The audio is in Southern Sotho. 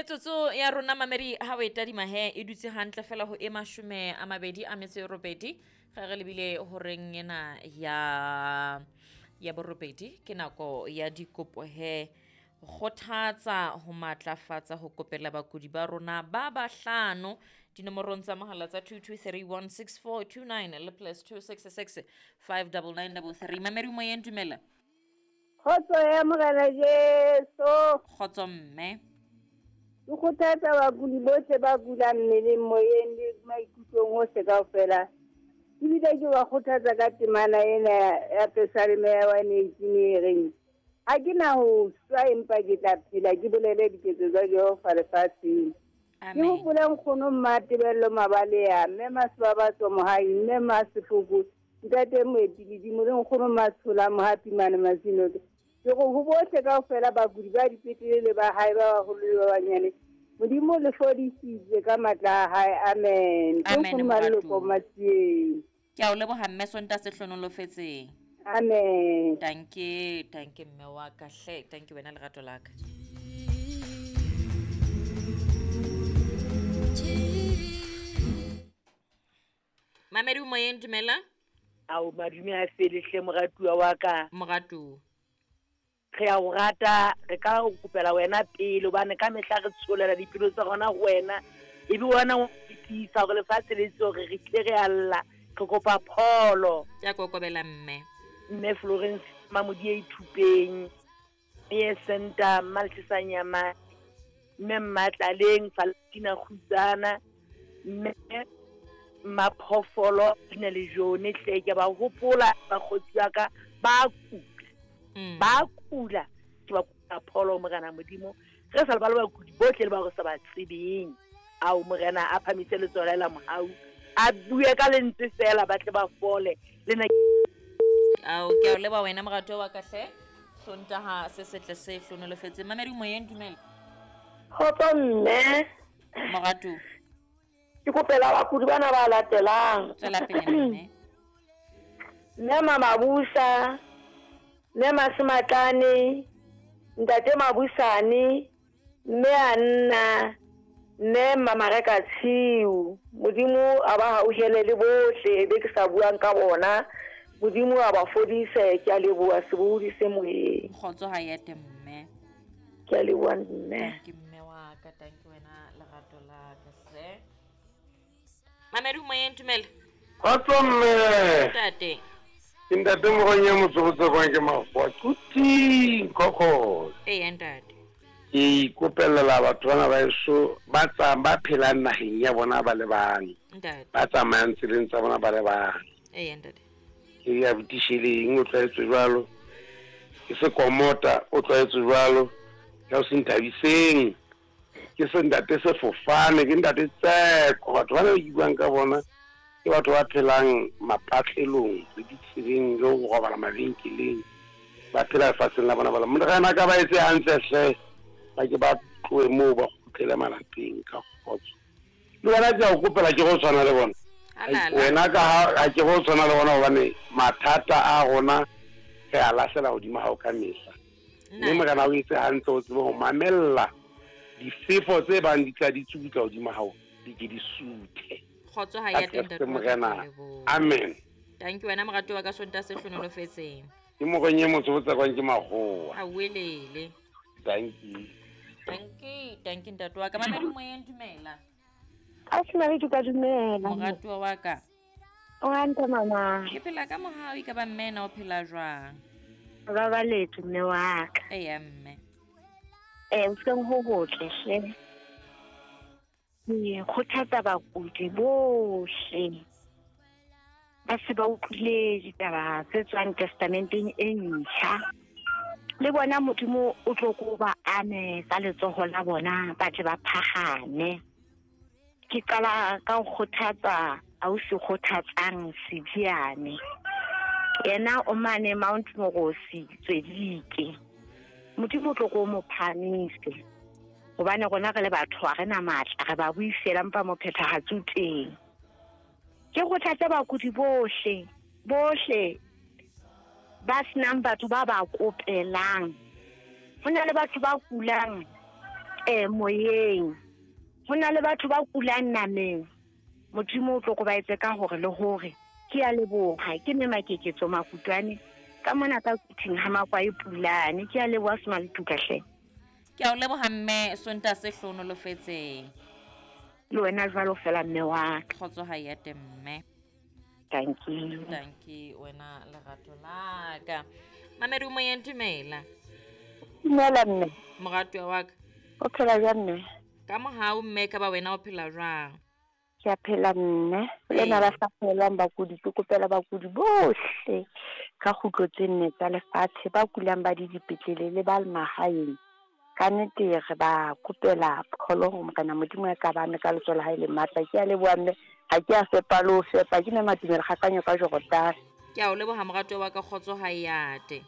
Metsotso ya rona mamedi ha o e tadima he e dutse hantle fela ho e 28 ge re lebile horeng ena ya borobedi ke nako ya dikopo he. Kgothatsa ho matlafatsa ho kopela bakudi ba rona ba bahlano dinomorong tsa mohala tsa 22316429 le plus 266 59933. Mamedi moyeng, dumela. Kgotso ya Morena Jesu. Kgotso mme. Ke kgothatsa bakudi bohle ba kulang mmeleng, moyeng le maikutlong hohle kaofela. Ebile ke ba kgothatsa ka temana ena ya Pesaleme ya 118 e reng, ha ke na ho shwa empa ke tla phela ke bolele diketso tsa Jehova lefatsheng. Ke hopole nkgono Mmatebello Mabalea, mme Masibabatso Mohai, mme Masefoko, ntate Moeti Ledimo le nkgono Matshola Mohapi mane Masinoke. Ke re ho bohle kaofela bakudi ba dipetlele le ba hae ba baholo le ba banyane, Modimo le fodisitse ka matla a hae. Amen. Ke Amen, nkgono Maloko moratuwa. Matsieng. Ke a o leboha mme, Sontaha se hlonolofetseng. Amen. Tanke, tanke mme wa ka hle, tanke wena lerato la ka. Mamedi moyeng, dumela. Ao madume a fele hle moratuwa wa ka. Moratuwa. Re a o rata, re ka o kopela wena pele hobane ka mehla re tsholela dipelo tsa rona ho wena. Ebe wena o tiisa hore lefatshe le itse hore re tlile re a lla, re kopa pholo. Ke a kokobela mme. Mme Florence Mamodie Ithupeng, Mme Senta Mmalesanyama, Mme Mmatlaleng Falastina Kgutsana, Mme Mmaphofolo Dina le Jone hle ke ba hopola bakgotsi ba ka ba kula. Ba kula, ke ba kopa pholo Morena Modimo. Re sa lebale bakudi bohle le bao re sa ba tsebeng. Ao Morena a phamise letsoho la mohau, a bue ka lentswe fela ba tle ba fole. Le nna Ao ke a o leboha wena moratuwa wa ka hle. Sontaha se setle se hlonolofetseng. Mamedi moyeng, dumela. Kgotso mme. Moratuwa. Ke kopela bakudi bana ba latelang. Tswela pele mme. Mme Mamabusa, Mme Masematlane, Ntate Mabusane, Mme Anna, Mme Mamareka Tshiu. Modimo a ba hauhele le bohle be ke sa buang ka bona. Modimo a ba fodise. Ke a leboha sebohodi se moyeng. Kgotso ha ya te mme. Ke a leboha mme. Tanke mme wa ka, tanke wena lerato la ka hle. Mamedi moyeng, dumela. Kgotso mme. Ntate. Ke ntate Mogonye motsokotsokwang ke mafoa Quthing Khokho. Eya ntate. Ke ikopelela batho bana ba eso ba tsa ba phelang naheng ya bona ba le bang. Ntate. Ba tsamayang tseleng tsa bona ba le bang. Eya ntate. Ke ya botisheleng o tlwaetswe jwalo. Ke sekomota o tlwaetswe jwalo. Ya o senthabiseng. Ke se ntate sefofane, ke ntate Tseko. Batho bana ba ke buang ka bona ke batho ba phelang mapatlelong le ditseleng le ho robala mabenkeleng. Ba phela lefatsheng la bona ba le. Morena ka ba etse hantle hle. Ba ke ba tlohe moo ba kgutlele malapeng ka kgotso. Le wena ke a o kopela ke go tshwana le bona. Wena ka ha ke go tshwana le bona hobane mathata a rona re a lahlela hodimo hao ka mehla. Mme Morena o etse hantle o tsebe ho mamella difefo tse bang di tla di tsukutla hodimo hao di ke di suthe. Kgotso ha ya teng ntate Morena. Amen. Thank you wena moratuwa wa ka, Sontaha se hlonolofetseng. Ke mogonye motho o tsekwang ke magoa. A welele. Thank you. Thank you, thank you ntate wa ka. Mamedi moyeng, dumela. A sena le ka dumela. Moratuwa wa ka. O hantle mama. Ke phela ka mohau, e ka ba mme na o phela jwang? Ba baletse mme wa ka. Eya mme. Hoseng ho hotle hle. Ke kgothatsa bakudi bohle ba se ba utlwile ditaba tse tswang testamenteng e ntjha. Le bona Modimo o tlo ko ba ame ka letsoho la bona ba tle ba phahame. Ke qala ka ho kgothatsa ausi Kgothatsang Sediane. Yena o mane Mount Morosi Tswedike. Modimo o tlo ko mo phahamise. Hobane rona re le batho ha re na matla, re ba bui fela empa mophethahatsi o teng. Ke kgothatsa bakudi bohle, bohle ba senang batho ba ba kopelang. Ho na le batho ba kulang Moyeng. Ho na le batho ba kulang nameng. Modimo o tlo ko ba etse ka hore le hore. Ke a leboha. Ke mme Makeketso Makutwane ka mona ka Kuthing ha Makwae Pulane. Ke a leboha Semaletuka hle. Ke a o leboha mme, Sontaha se hlohonolofetseng. Le wena jwalo fela mme wa ka. Kgotso ha e ate mme. Dankie. Dankie wena lerato la ka. Mamedi o moyeng dumela. Dumela mme. Moratuwa wa ka. O phela jwang mme? Ka mohau mme ka ba wena o phela jwang? Ke a phela mme. Le na ba sa phelwang bakudi ke kopela bakudi bohle ka kgutlo tse nne tsa lefatshe ba kulang ba di dipetlele le ba mahaeng. Ka nnete re ba kopela pholo ho Morena Modimo ya ka ba ame ka letsoho la hae le matla. Ke a leboha mme ha ke a fepa le ho fepa. Ke mme Matumelo Kgakanyo ka Jorodane. Ke a o leboha moratuwa wa ka kgotso ha e ate.